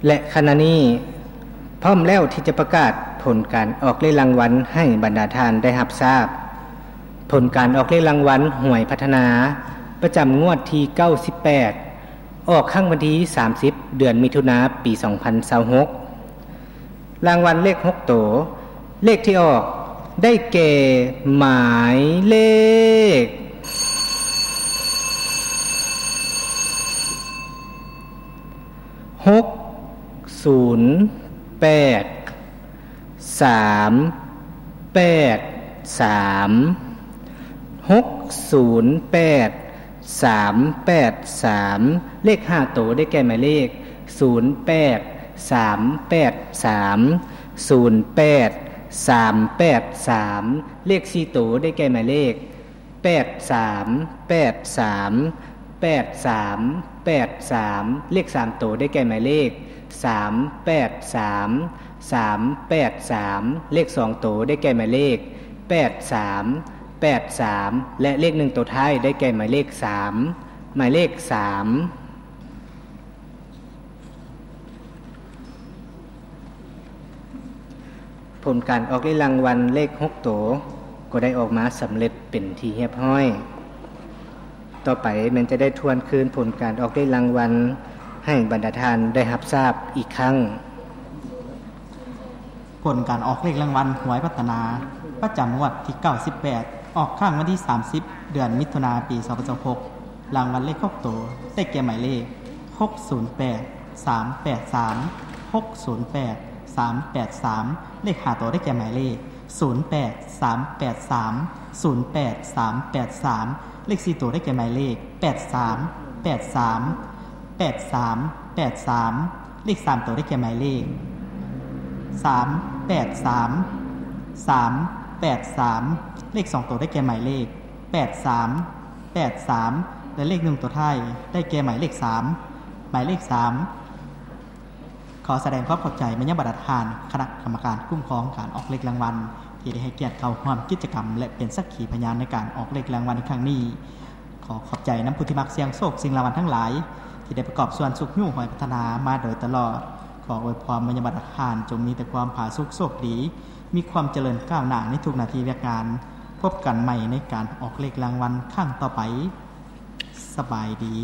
ແລະ ຂະນະນີ້ ພ້ອມແລ້ວທີ່ຈະປະກາດຜົນການອອກເລກລາງວັນໃຫ້ບັນດາທ່ານໄດ້ຮັບຊາບ. ຜົນການອອກເລກລາງວັນຫວຍພັດທະນາ ປະຈຳງວດທີເກົ້າສິບແປດ ອອກຄັ້ງວັນທີສາມສິບ ເດືອນມິຖຸນາ ປີສອງພັນຊາວຫົກ. ລາງວັນເລກຫົກໂຕ, ເລກທີ່ອອກໄດ້ແກ່ໝາຍເລກ ຫົກສູນແປດ ສາມແປດສາມ ຫົກສູນແປດ ສາມແປດສາມ. ເລກຫ້າໂຕໄດ້ແກ່ໝາຍເລກ ສູນແປດ ສາມແປດສາມ ສູນແປດ ສາມແປດສາມ. ເລກສີ່ໂຕໄດ້ແກ່ໝາຍເລກ ແປດສາມແປດສາມ ແປດສາມແປດສາມ. ເລກສາມໂຕໄດ້ແກ່ໝາຍເລກ ສາມແປດສາມ ສາມແປດສາມ. ເລກສອງໂຕໄດ້ແກ່ໝາຍເລກ ແປດສາມແປດສາມ ແລະ ເລກໜຶ່ງໂຕທ້າຍໄດ້ແກ່ໝາຍເລກສາມ ໝາຍເລກສາມ. ຜົນການອອກເລກລາງວັນເລກຫົກໂຕ ກໍໄດ້ອອກມາສຳເລັດເປັນທີ່ຮຽບຮ້ອຍ. ຕໍ່ໄປແມ່ນຈະໄດ້ທວນຄືນຜົນການອອກເລກລາງວັນໃຫ້ບັນດາທ່ານໄດ້ຮັບຊາບອີກຄັ້ງ. ຜົນການອອກເລກລາງວັນຫວຍພັດທະນາ ປະຈຳງວດທີເກົ້າສິບແປດ ອອກຄັ້ງວັນທີສາມສິບ ເດືອນມິຖຸນາ ປີສອງພັນຊາວຫົກ. ລາງວັນເລກຫົກໂຕໄດ້ແກ່ໝາຍເລກ ຫົກສູນແປດ ສາມແປດສາມ ຫົກສູນແປດ ສາມແປດສາມ. ເລກຫ້າໂຕໄດ້ແກ່ໝາຍເລກ ສູນແປດ ສາມແປດສາມ ສູນແປດ ສາມແປດສາມ. ເລກສີ່ໂຕໄດ້ແກ່ໝາຍເລກ ແປດສາມແປດສາມ ແປດສາມແປດສາມ. ເລກສາມໂຕໄດ້ແກ່ໝາຍເລກ ສາມແປດສາມ ສາມແປດສາມ. ເລກສອງໂຕໄດ້ແກ່ໝາຍເລກ ແປດສາມແປດສາມ ແລະ ເລກໜຶ່ງໂຕທ້າຍໄດ້ແກ່ໝາຍເລກສາມ ໝາຍເລກສາມ. ຂໍສະແດງຄວາມຂອບໃຈມາຍັງບັນດາທ່ານຄະນະກຳມະການຄຸ້ມຄອງການອອກເລກລາງວັນ ທີ່ໄດ້ໃຫ້ກຽດເຂົ້າຮ່ວມກິດຈະກຳ ແລະ ເປັນສັກຂີພະຍານໃນການອອກເລກລາງວັນໃນຄັ້ງນີ້. ຂໍຂອບໃຈນຳຜູ້ທີ່ມັກສ່ຽງໂຊກສ່ຽງລາງວັນທັງຫຼາຍ ທີ່ໄດ້ປະກອບສ່ວນຊຸກຍູ້ຫວຍພັດທະນາມາໂດຍຕະຫຼອດ. ຂໍອວຍພອນມາຍັງບັນດາທ່ານ ຈົ່ງມີແຕ່ຄວາມຜາສຸກໂຊກດີ, ມີຄວາມຈະເລີນກ້າວໜ້າໃນທຸກໜ້າທີ່ວຽກງານ. ພົບກັນໃໝ່ໃນການອອກເລກລາງວັນຄັ້ງຕໍ່ໄປ. ສະບາຍດີ.